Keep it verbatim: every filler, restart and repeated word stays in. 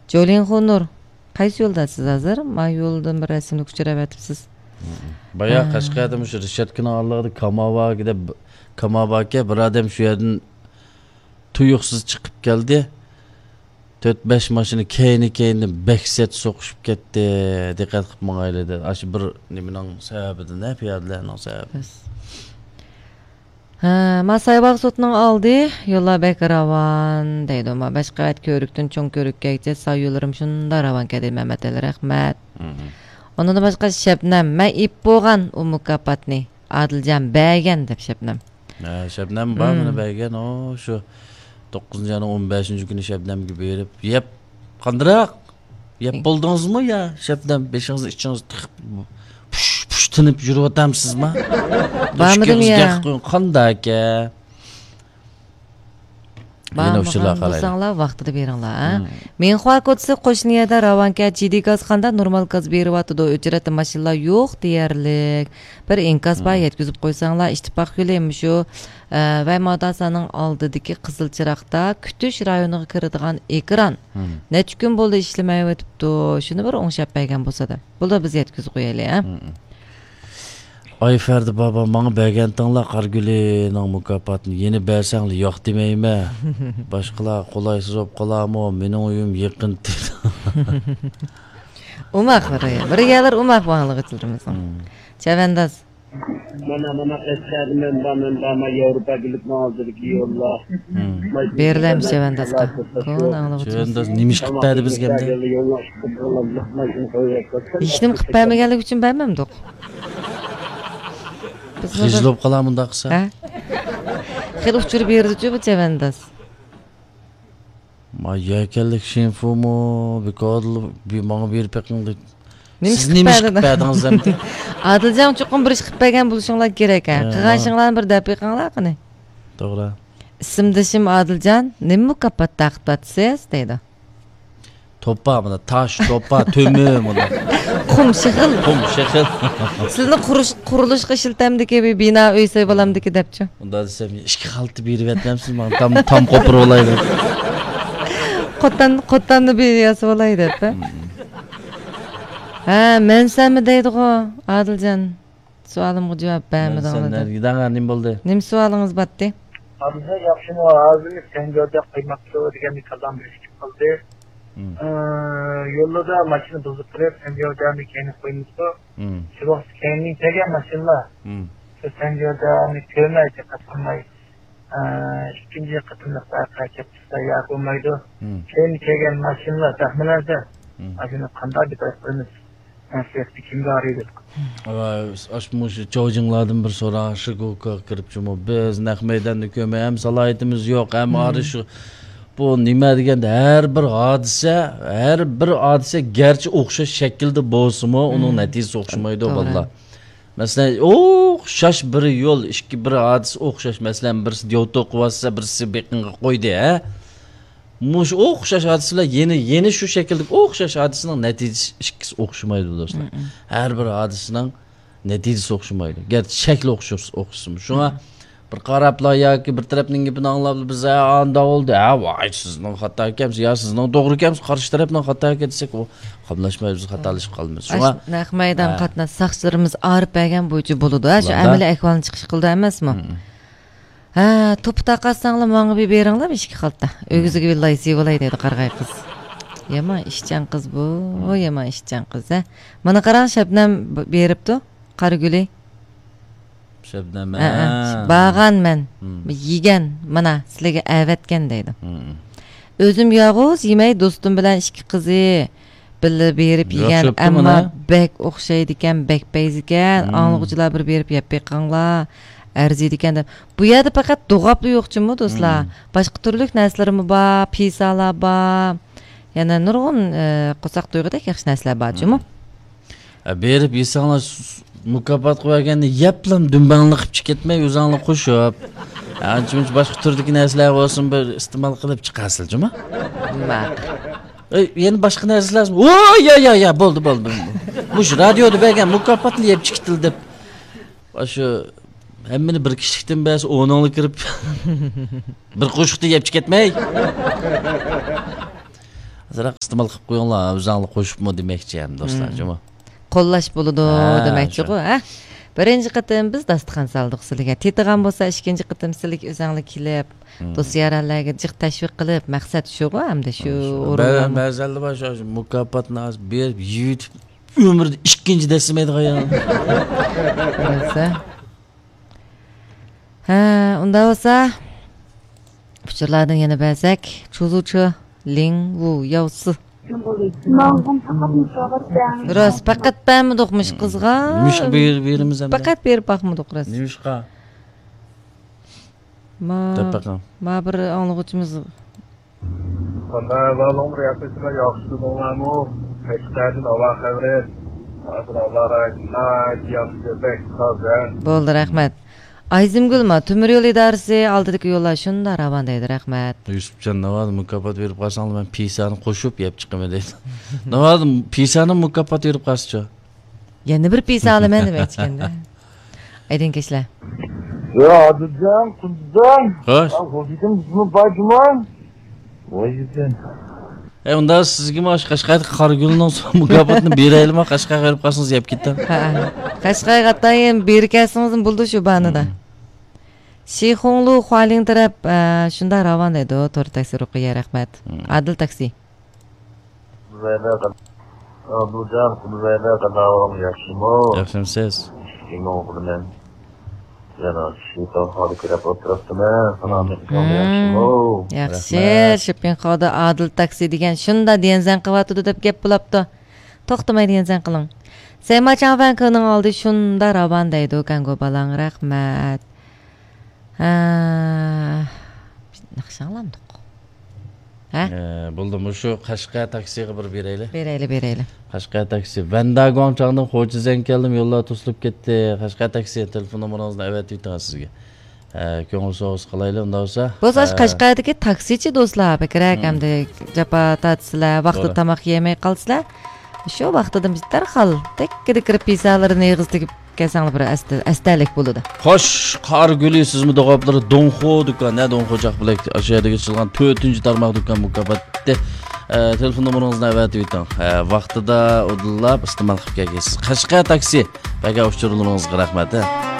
جولىنخۇ نۇر، قايسى يولداسىز ھازىر؟ ما يولدىن بىر رەسىملىك ئۇچراۋېتىپسىز. بايا ھە. قەشقەردە مۇشۇ رىشاتكىنىڭ ئالدىغىدا كاماۋاكى دەپ، كاماۋاكى بىر ئادەم شۇ يەردىن تۇيۇقسىز چىقىپ كەلدى. تۆت بەش ماشىنا كەينى كەينىدىن بەك سەت سوقۇشۇپ كەتتى. دىققەت قىلىپ ماڭايلى دېدى. ئاشۇ بىر نېمىنىڭ سەۋەبىدىن، ھە، پىيادىلەرنىڭ سەۋەبى. بەس. ھە، ما سايباغ سوتىنىڭ ئالدى، يوللار بەك راۋان دەيدۇ. ما بەش قەۋەت كۆۋرۈكتىن چوڭ كۆۋرۈككەگىچە سايۇلىرىم شۇنداق راۋانكەن دەيدۇ مەمەت ئەلى، رەھمەت. مم. ئۇنىڭدىن باشقا شەبنەم، مەن ئېيتىپ بولغان ئۇ مۇكاپاتنى، ئادىلجان بەرگەن دەپ شەبنەم. ھە، شەبنەم بار مم. مانا بەرگەن، ئۇ شۇ توققۇزىنچى ئاينىڭ ئون بەشىنچى كۈنى شەبنەمگە بېرىپ، يەپ، قاندىراق؟ يەپ بولدىڭىزمۇ يا شەبنەم؟ بېشىڭىزنى ئىچىڭىزنى تىقىپ، پۇش، پۇش تىنىپ يۈرۈۋاتامسىزما؟ بارمىدىم يا. قانداكە؟ يەنە بارمىغان ئۇچۇرلار قالايلى. بولساڭلار ۋاقتىدا بېرىڭلار، ھە؟ مم. مىنخۇا كوچىسى قوشنا يەردە راۋانكە جىدىي گاز قاندا نورمال گاز بېرىۋاتىدۇ. ئۆچرەتتە ماشىنىلار يوق دېيەرلىك. بىر ئىنكاس بار، مم. يەتكۈزۈپ قويساڭلار، ئىتتىپاق يولى مۇشۇ، ئە، ۋەي ماداسانىڭ ئالدىدىكى قىزىل چىراغدا كۈتۈش رايونىغا كىرىدىغان ئېكران. مم. نەچچە كۈن بولدى ئىشلىمەيۋېتىپتۇ. شۇنى بىر ئوڭشاپ بەرگەن بولسا دەپ. بولدى، بىز يەتكۈزۈپ قويايلى، ھە؟ مم. ئاي فەردى بابا، ماڭا بەرگەنتىڭلار قارىگۈلىنىڭ مۇكاپاتىنى يەنە بەرسەڭلار ياق دېمەيمەن. باشقىلار قولايسىز بولۇپ قالارمۇ؟ مېنىڭ ئۆيۈم يېقىن. ئوماق بىر، بىر يەرلەر ئوماق بۇ ئاڭلىغۇچىلىرىمىزنىڭ. مم. چەۋەنداز. مانا، مانا، ئەسكەردە مەن بار، مەن بار، مانا ياۋروپا بىرلىكىنىڭ ئالدىدىكى يوللار. مم. بېرىلەمدۇ چەۋەندازغا؟ كونا ئاڭلىغۇچىمىز. چەۋەنداز نېمە ئىش قىلىپ بەردى بىزگە ئەمدى؟ ھېچنېمە قىلىپ بەرمىگەنلىكى ئۈچۈن بەرمەمدۇق. بىز خىجىل بولۇپ قالار مۇنداق قىلسا. ھە؟ خېلى ئۇچۇر بېرىدىچۇ بۇ چەۋەنداز. ما يەكەنلىك شىنفۇمۇ بىكارلا بى-، ماڭا بېرىپ بېقىڭ دەيدۇ. نېمە سىز ئىش قىلىپ نېمە ئىش قىلىپ بەردىڭىز؟ بەردىڭىز ئەمدى؟ ئادىلجان چوقۇم بىر ئىش قىلىپ بەرگەن بولۇشۇڭلار كېرەك، ھە؟ ھە، قىلغان ما- ئىشىڭلارنى بىر دەپ بېقىڭلار قېنى. توغرا. ئىسىمدىشىم ئادىلجان، نېمە مۇكاپات تارقىتىۋاتىسىز؟ دەيدۇ. توپا، مانا تاش، توپا، تۆمۈر، مانا. قۇم، شېخىل. قۇم، شېخىل. سىلىنى قۇرۇش-، قۇرۇلۇشقا ئىشلىتەمدىكى بىر بىنا ئۆي سېلىۋالامدىكى دەپچۇ. ئۇنداق دېسەم، ئىككى خالتا بېرىۋەتمەمسىز ماڭا؟ تام، تام قوپۇرۇۋالايلى. قوتان، قوتاننى بىر ياسىۋالاي دەپ، ھە؟ مم. ھە، مەن سەنمۇ دەيدىغۇ، ئادىلجان. سوئالىمغا جاۋاب بەرمىدىڭلار دەپ. نېمە بولدى؟ نېمە سوئالىڭىز باتتى؟ ھازىر ياخشىمۇ؟ ھازىرمۇ سەنجاۋدا قويماقچى دېگەندە كاللام بىر ئىشىپ قالدى. مم. ئى، يولدا ماشىنا بۇزۇپ قېلىپ، سەنجاۋدانى كەينىگە قويمىسا، مم. شۇ ۋاقىت كەينىدىن كەلگەن ماشىنىلار، مم. شۇ سەنجاۋدانى كۆرمەي، دىققەت قىلماي، ئى، ئىككىنچى قېتىملىق ۋەقە كەپ چىقسا يا بولمايدۇ. مم. كەينىدىن كەلگەن ماشىنىلار زەخمىلەردە، مم. ئاشۇنى قانداق دەپ قويىمىز؟ مەسلىھەتتە كىمگە ئارىيدۇ؟ ۋاي، ئاشۇ مۇشۇ چاۋجىڭلاردىن بىر سورا، شىگۇكا كىرىپچىمۇ، بىز نەق مەيداننى كۆرمەي، ھەم سالاھىيىتىمىز يوق، ھەم مم. ئارى شۇ، بۇ نېمە دېگەندە، ھەر بىر ھادىسە، ھەر بىر ھادىسە گەرچە ئوخشاش شەكىلدە بولسىمۇ، ئۇنىڭ مم. نەتىجىسى ئوخشىمايدۇ، توغرا. بالىلار. مەسىلەن، ئوخشاش بىر يول، ئىككى بىر ھادىسە ئوخشاش. مەسىلەن، بىرسى دياۋتو قىلىۋاتسا، بىرسى بېقىنغا قويدى، ھە؟ مۇشۇ ئوخشاش ھادىسە بىلەن يەنە، يەنە شۇ شەكىلدىكى ئوخشاش ھادىسىنىڭ نەتىجىسى ئىككىسى ئوخشىمايدۇ، دوستلار. مم. ھەر بىر ھادىسىنىڭ نەتىجىسى ئوخشىمايدۇ. گەرچە شەكلى ئوخشاش، ئوخشىسىمۇ. شۇڭا مم. بىر قاراپلا ياكى بىر تەرەپنىڭ گېپىنى ئاڭلاپلا بىز، ھە، ئانداق بولدى، ھە، ۋاي، سىزنىڭ خاتا ئىكەنسىز، يا سىزنىڭ توغرا ئىكەنسىز، قارشى تەرەپنىڭ خاتا ئىكەن دېسەك، ئۇ قاملاشمايدۇ، بىز خاتالىشىپ قالىمىز. شۇڭا ئاشۇ نەق مەيدان ھە. قاتناش ساقچىلىرىمىز ئايرىپ بەرگەن بويىچە بولىدۇ، ھە، شۇ بولىدۇ. ئەمەلىي ئەھۋالنى چىقىش قىلىدۇ ئەمەسمۇ؟ مم. ھە، توپا تارقاتساڭلار ماڭا بىر بېرىڭلار، ئىككى خالتا. ئۆگزىگە بىر لاي سېلىۋالاي دەيدۇ قارىغاي قىز. يامان ئىشچان قىز بۇ، يامان ئىشچان قىز، ھە. مانا قاراڭ، شەبنەم ب-، بېرىپتۇ، قارىگۈلى. شەبنەم، ھە، ھە. ھە. بارغان مەن. مم. يېگەن، مانا، سىلەرگە ئەۋەتكەن دەيدۇ. مم. ئۆزۈم يالغۇز يېمەي، دوستۇم بىلەن ئىككى قىزى بىللە بېرىپ يېگەن، ئەمما بەك ئوخشايدىكەن، بەك پەيزىكەن. مم. ئاڭلىغۇچىلار بىر بېرىپ يەپ بېقىڭلار، ئەرزىيدىكەن دەپ. بۇ يەردە پەقەت دوغاپلا يوقچىمۇ، دوستلار. مم. باشقا تۈرلۈك نەرسىلىرىمۇ بار، پىسالار بار. يەنە نۇرغۇن، ئە، قورساق تويغۇدەك ياخشى نەرسىلەر بارچۇمۇ. مم. ھە، بېرىپ يېسەڭلار، س-، س-، مۇكاپات قويۇۋەرگەندە يەپلا دۈمبەڭلىق قىلىپ چىقىپ كەتمەي، ئۆزۈڭلار قوشۇپ. ھە، ئانچە-مۇنچە باشقا تۈردىكى نەرسىلەر بولسۇن، بىر ئىستېمال قىلىپ چىقارسىلە جۇما. ماقۇل. ئەي، يەنە باشقا نەرسىلەر، ۋوي، يا، يا، يا، بولدى، بولدى، بولدى. مۇشۇ رادىيودا بەرگەن مۇكاپاتنى يەپ چىقىتىل دەپ. ئاشۇ ھەممىنى بىر كىشىلىكتىن بەرسە، ئونۇڭلا كىرىپ، بىر قوشۇقتا يەپ چىقىپ كەتمەي. ئازراق ئىستېمال قىلىپ قويۇڭلار، ئۆزۈڭلار قوشۇپمۇ دېمەكچى ھەم دوستلار، مم. جۇمۇ. قوللاش بولىدۇ ھە، دېمەكچىغۇ، شۇ. ھە؟ بىرىنچى قېتىم بىز داستىخان سالدۇق سىلىگە. تېتىغان بولسا، ئىككىنچى قېتىم سىلىگە ئۆزەڭلار كېلىپ، مم. دوست-يارەنلەرگە جىق تەشۋىق قىلىپ، مەقسەت شۇغۇ، ھەمدە شۇ شۇ. ئورۇنلارنى. بەزەندە بار شۇ مۇكاپاتنى بىر يېيىپ ئۆمرىدە ئىككىنچى دەسسىمەيدىغان يا. بىلسە. ھە، ئۇنداق بولسا، ئۇچۇرلاردىن يەنە بەرسەك، چۇزۇچى لىڭ ۋۇ ياۋسى. راست، پەقەت بەرمىدۇق مۇشۇ قىزغا. نېمىشقا بېرىپ بېرىمىز ئەمدى؟ پەقەت بېرىپ باقمىدۇق راست. نېمىشقا؟ ما، دەپ بېقىڭ. ما بىر ئاڭلىغۇچىمىز. قانداق ئەھۋالىڭلار، ياخشىسىلەر، ياخشى تۇردۇڭلارمۇ؟ قەشقەردىن ھاۋا خەۋىرى؟ ھازىر ھاۋا رايى ناھايىتى ياخشى، بەك تازا. بولدى، رەھمەت. ئايزىمگۈل، ما تۆمۈر يول ئىدارىسى ئالدىدىكى يوللار شۇنداق راۋان دەيدۇ، رەھمەت. يۈسۈپجان، ناۋادا مۇكاپات بېرىپ قالساڭلار، مەن پىسانى قوشۇپ يەپ چىقىمەن دەيدۇ. ناۋادا پىسانى مۇكاپات بېرىپ قالسىچۇ؟ يەنە بىر پىسا ئالىمەن دېمەكچىكەندە. ئايدىڭكەشلەر. يا ئادىلجان، قۇندىزان. خوش. يا غوجىدىن بىزمۇ بار جۇما. ۋاي يۈزدىن. ئەي، ئۇندا سىزگىمۇ ئاشۇ قەشقەردىكى قارىگۈلنىڭ مۇكاپاتىنى بېرەيلىما؟ قەشقەرگە بېرىپ قالسىڭىز يەپ كېتىڭ. ھە، ھە. قەشقەرگە ئاتايىن بېرىپ كەلسىڭىزمۇ بولىدۇ شۇ بانىدا. مم. شىخۇڭلۇ خۇالىڭ تەرەپ، ئە، شۇنداق راۋان دەيدۇ. تور تاكسى رۇقىيە، رەھمەت. مم. ئادىل تاكسى. قۇدۇزەيدە قا-، ئابدۇجان، قۇدۇزەيدە قانداق ئەھۋالىڭ، ياخشىمۇ؟ ياخشىمۇسىز؟ شۇنىڭ بىلەن يەنە شىتان خالىق كېلىپ ئولتۇرۇپتىمەن. سالامەتلىكىڭ مم. ياخشىمۇ؟ ياخشى، رەھمەت. شىپىن خادا ئادىل تاكسى دېگەن شۇندا دىيەنزەن قىلىۋاتىدۇ دەپ گەپ بولاپتۇ. توختىماي دىيەنزەن قىلىڭ. سەيما چاڭفەنكىنىڭ ئالدى شۇندا راۋان دەيدۇ، كەڭگۇ بالاڭ، رەھمەت. ھە، ناخشا ئاڭلامدۇق. ھە؟ ئە، بولدى، مۇشۇ قەشقەر تاكسىغا بىر بېرەيلى. بېرەيلى، بېرەيلى. قەشقەر تاكسى. ۋەنداگۇاڭچاڭدىن خوجا زەڭ كەلدىم، يوللار توسۇلۇپ كەتتى. قەشقەر تاكسى، تېلېفون نومۇرىڭىزنى ئەۋەتىۋېتىڭ سىزگە. ئە، كۆڭۈل سوۋغىسى قىلايلى، ئۇنداق بولسا. بولسا، ئاشۇ ئە، قەشقەردىكى تاكسىچى دوستلار بەكرەك مم. ئەمدى جاپا تارتىسىلەر، ۋاقتىدا توغرا. تاماق يېمەي قالسىلەر. شۇ ۋاقتىدا دەرھال تەككىدە كىرىپ پىسالىرىنى ئېغىز تېگىپ كەلسەڭلار بىر ئەستە-، ئەستەلىك بولىدۇ. خوش، قارىگۈلى، سىزمۇ دوغاپلىرى دونخو دۇكان، ھە، دونخو جاق بىلەك، ئاشۇ يەردىكى ئېچىلغان تۆتىنچى تارماق دۇكان مۇكاپاتى. ئە، تېلېفون نومۇرىڭىزنى ئەۋەتىۋېتىڭ. ئە، ۋاقتىدا ئۇدۇللاپ ئىستېمال قىلىپ كەلگەيسىز. قەشقەر تاكسى، بەرگەن ئۇچۇرلىرىڭىزغا رەھمەت، ھە.